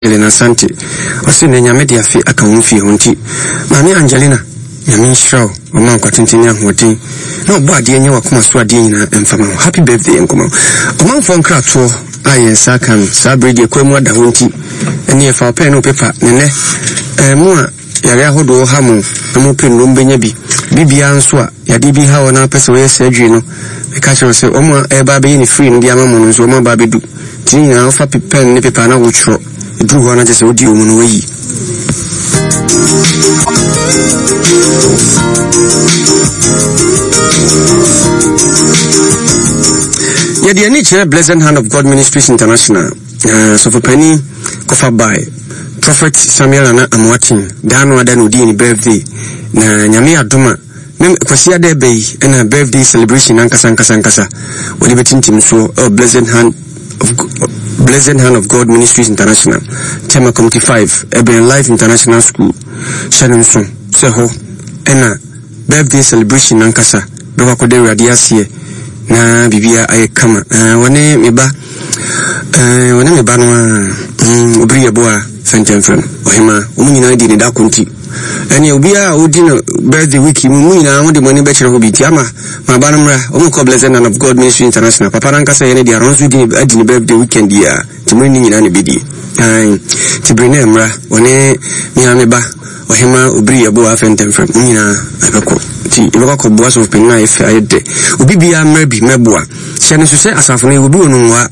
Angelina Asante, ɔse nɛ Nyame de afe aka wo mfie ho nti Maame Angelina Nyame nhyira wo ɔma wo nkwatenten ne ahoɔden na ɔbɔ adeɛ nyɛ wakoma so adeɛ nyinaa mfa ma wo Happy birthday nkɔma wo Ɔmanfoɔ nkratoɔ a yɛn nsa aka no saa bere deɛ kwan mu ada hɔ nti ɛneɛ fa wo pɛn ne wo pepa ne nɛ ɛɛ mo a yare ahodoɔ ha mo na mo pɛ nnuro mbɛnya bi bibia nso a yadeɛ bi ha wɔ na apɛ sɛ wɔyɛ surgery no meka kyerɛ wo sɛ wɔn a ɛreba abɛyɛ ne free no de ama mo no nso wɔn aba abɛdu Nti ne nyinaa wofa pɛn ne pepa na wotwerɛ, ɛduru hɔ a na kyerɛ sɛ wodi wɔ mu no woayi. Yɛde ani kyerɛ Blessed Hand of God Ministries International na sɔfopanin kɔfa bae Prophet Samuel Nana Amoaten daa no ada na odii ne birthday na Nyame adom a Mem Kwasiada ɛbɛ yi ɛna birthday celebration ankasa ankasa ankasa wɔde bɛtintim soɔ ɛwɔ Blessed Hand of Blessed Hand of God Ministries International Tema Committee 5 ɛbɛn Life International School hyɛ no nso sɛ hɔ ɛna birthday celebration ankasa bɛkɔ akɔda Awurade aseɛ na biribiara ayɛ kama. Wɔne me ba wɔne me ba no a obiri yɛ boa fɛntɛmfrɛm ɔhema wɔn nyinaa di ne da ko nti ɛne obiara a ɔdi no birthday week mu mu nyinaa wɔde mo ani bɛkyerɛ hɔ bi nti ama ma ba no mmra wɔn kɔ Blessed None of God Ministry International papa no ankasa yɛ ne deɛ ɔno nso di ne adi ne birthday weekend yi a nti mo ne ne nyinaa na ɛbɛdie nti bere na mmra wɔne me me ba Ɔhemaa Obiri Yeboah Afɛntɛmfrɛm, mo nyinaa yɛbɛkɔ. Nti yɛbɛkɔ akɔboa sɔfopanin a ayɛ fɛ, ayɛ dɛ. Obi biara mmra bi mmɛboa. Hyɛ no nso sɛ asafo no yɛwɔ bi wɔ Nungua,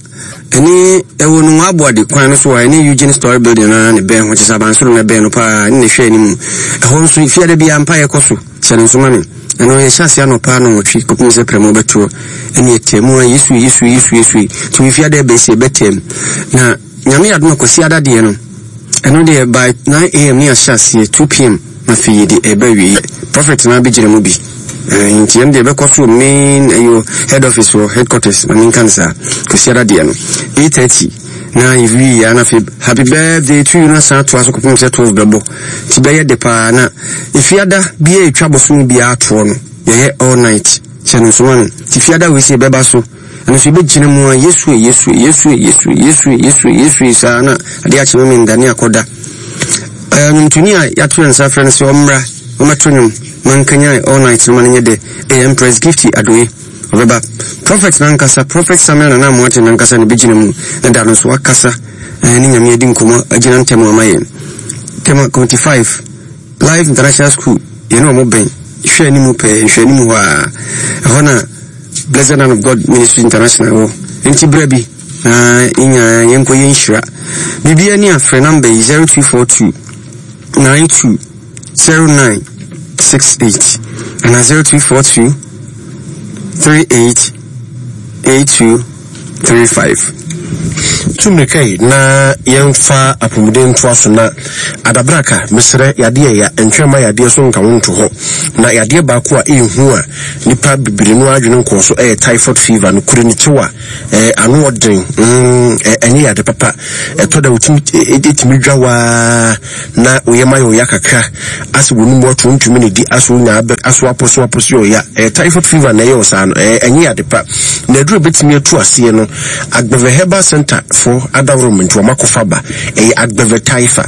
ɛne ɛwɔ Nungua Aboade kwan no so a ɛne Eugene Story Building no ara na ɛbɛn ho, kyerɛ sɛ abansoro no ɛbɛn no paa, ɛne na ɛhwɛ anim. Ɛhɔ nso fiada biara mpaeɛ kɔ so. Hyɛ no nso ma me. Ɛno yɛhyɛ aseɛ anɔpa nnɔnwɔtwe kɔpem sɛ prɛmo bɛtoɔ. Ɛne ɛtɛm mu a Yesu Yesu Yesu Yesu. Nti wɔ fiada ɛbɛsi ɛbɛtɛm. Na Nyame yɛ adom a Kwasiada deɛ no, ɛno deɛ by 9am ne yɛahyɛ aseɛ, 2pm na afei yɛde ɛreba awieɛ. Prophet no ara bɛgyina mu bi. Ɛɛ, nti ɛno deɛ ɛbɛkɔ so wɔ main ɛyɛ head office hɔ, headquarters, ma menka no saa. Kwasiada deɛ no, 8:30 na yɛwie yɛ a na afei happy birthday to you no asan atoa so kɔpem sɛ 12 bɛbɔ. Nti bɛyɛ de paa na efiada biara ɛtwa bosome biara toɔ no, yɛyɛ all night. Hyɛ no nso ma me. Nti fiada wei sɛ yɛbɛba so. Ɛno nso yɛbɛgyina mu a Yesu e, Yesu e, Yesu e, Yesu e, Yesu e, Yesu e, Yesu e saa na adeɛ akye me menda ne akɔda. Ɛɛ nnwomtoni a yɛato yɛn nsa afrɛ no sɛ ɔmmra ɔmmɛto nnwom ma nkanyan all night no ma no nyɛ dɛ ɛyɛ Empress Gifty Adoe. Ɔbɛba. Prophet nankasa, Prophet Samuel Nana Amoateng nankasa na ɛbɛgyina mu na da no nso wakasa ɛɛ ne Nyame adi nkɔmmɔ agyina ntɛm ama yɛn. Tema Committee 5. Life International School, yɛne wɔn bɛn, hwɛ anim pɛɛ, nhwɛ anim hɔ a, ɛhɔ na Blessed Hand of God Ministry International wɔ. Enti bra bi na yɛn nyinaa yɛnkɔ yɛ nhyira. Biribiara ni a, frɛ namba yi 0242 92 09 68 anaa 0242 38 82 35. Tu mmirika yi na yɛmfa apɔmuden ntoa so na adabraka, mesrɛ, yadeɛ ya, ntwɛn mma yadeɛ so nka wo nto hɔ. Na yadeɛ baako a ɛyɛ hu a nnipa bebree no ara adwene nkɔɔ so yɛ typhoid fever, nokorɛ ni kyew a eh, ano ɔden, mm, ɛnyɛ yade papa. Ɛtɔ da wotumi, ɛtumi dwa waa na wo yam ayɛ ɔya kakra, asɛ w'anum ato wontumi ne di, asɛ wonya abɛ, asɛ wapɔso apɔso yɛ ɔya. Ɛyɛ typhoid fever na ɛyɛ wo saa no, ɛɛ ɛnyɛ yade pa. Na aduru a ɛbɛtumi atu aseɛ no, Agbeve Herbal Center foɔ adaworo mu nti wɔn akɔfa ba. Ɛyɛ Agbeve Typha,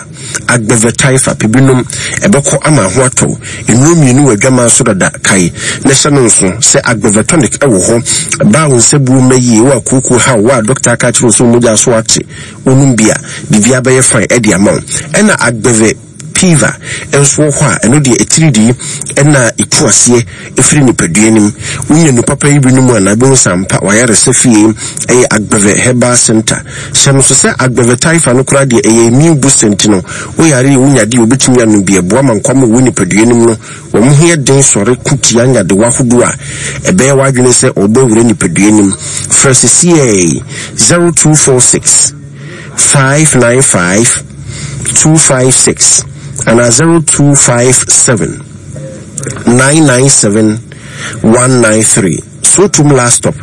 Agbeve Typha, pɛ bi nom, ɛbɛkɔ ama ho atɔ wo. Nnuro mmienu wɔ adwaman so dada, kae na hyɛ no nso sɛ Agbeve Tonic wɔ hɔ. Baa wo nsabuo mma yie, wo a kooko ha wo, wo a dɔkta aka akyerɛ wo sɛ wo mogya so ate, Wonom bi a, biribiara bɛyɛ fine de ama wo. Ɛna Agbeve Piva nso wɔ hɔ a, ɛno deɛ atiridii na ɛtu aseɛ firi nipadua no mu. Wonya nu papa yi bi nom a, na wobɛhu sɛ ampa w'ayaresa fie yɛ Agbeve Herbal Center. Hyɛ no nso sɛ Agbeve Typha no koraa deɛ ɛyɛ immune booster nti no, woyare a wonya deɛ wobɛtumi anom bi. Ɛboa ma nkwamma a ɛwɔ nipadua no mu no Wɔn ho yɛ den sɔre ko tia nyadewa ahodoɔ a ɛbɛyɛ w'adwene sɛ ɔrebɔ awura nipadua no mu. Frɛ sesiei 0246 595 256 anaa 0257 997 193. Sowutuom Last Stop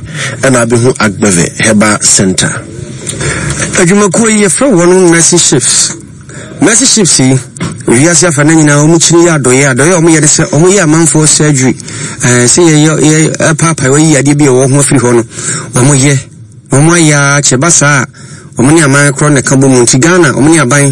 ɛna abɛhu Agbeve Herbal Centre. Adwumakuo yi yɛfrɛ wɔn Mercy Ships. Mercy Ships yi, wiase afa na nyinaa wɔn kyini yɛ adɔyɛ. Adɔyɛ a wɔyɛ ne sɛ wɔyɛ amanfoɔ surgery. Ɛɛ sɛ yɛyɛ yɛ paapae wɔyi yadeɛ bi a ɛwɔ ho afiri hɔ no, wɔyɛ. Wɔn ayɛ ara kyɛ ba saa a, Wɔn ne aman korɔ na ɛka bɔ mu nti Ghana wɔn ne aban.